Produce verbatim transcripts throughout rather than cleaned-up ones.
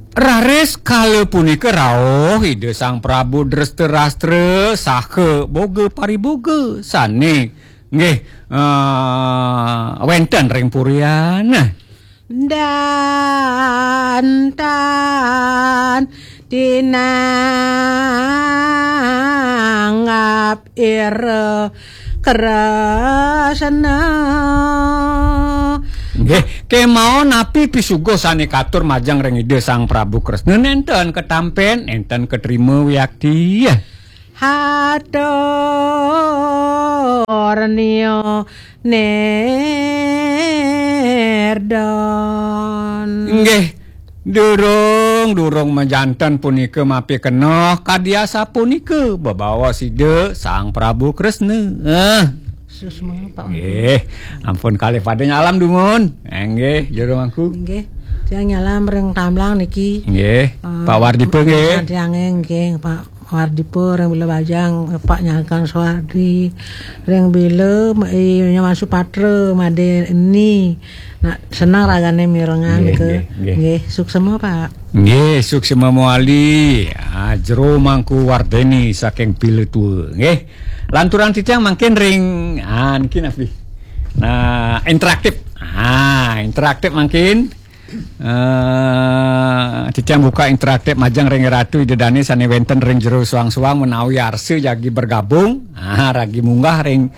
Raris kala punika rauh Ida Sang Prabu Drestarsastra saha boga pariboga sane nggih, eh, wenten ring purian. Dan tan tinanggap ira kresna. Nggih, kemawon napi pisuguh sane katur majeng ring Ida Sang Prabu Kresna? Nenten katampen, nenten katrima wiakti. Hatur nia nirdon. Nggih, durung, durung majanten punika mapikenoh kadi asapunika bebaos Ida Sang Prabu Kresna. Eh. Susma, Pak. Nggih, ampun kalih pada nyalam dumun. Eh, nggih, jero mangku. Nggih, tiang nyalam ring Tamblang niki. Nggih, eh, Pak Wardipa nggih. Tiange nggih, Pak Wardipa ring Bila Bajang, Pak Nyangkang Suwardi, ring Bila, eh, Nyaman Supatra, Made Eni. Nah, senang ragane mirengang nggih, nika. Nggih, nggih. Nggih, suksema, Pak. Nggih, suksema mawali. Ah, jero mangku Wardeni saking Bila Tua, nggih. Lanturang titiang mangkin ring, ah, niki napi? Nah, interaktif. Ah, interaktif mangkin. Eh, titiang buka interaktif majeng ring Ratu Ida Dane sane wenten ring jero suang-suang menawi arsa jagi bergabung. Ah, ragi munggah ring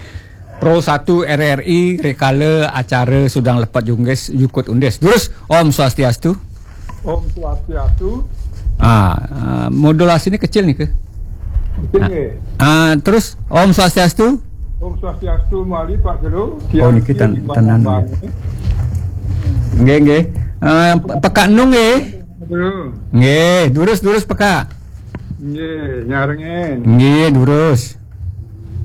Pro satu R R I rikala acara Sudang Lepet Jungkis Jukut Undis. Terus, Om Swastiastu. Om Swastiastu. Ah, ah, modulasi ini kecil nih ke. Kecil nggih. Ah, terus Om Swastiastu. Om Swastiastu mawali Pak Jero. Oh, niki tan-, tenan nggih. Nggih, nggih. Ah, Pe-, Pekak Nung nggih. Halo. Nggih, durus, durus Pekak. Nggih, nyarengen. Nggih, durus.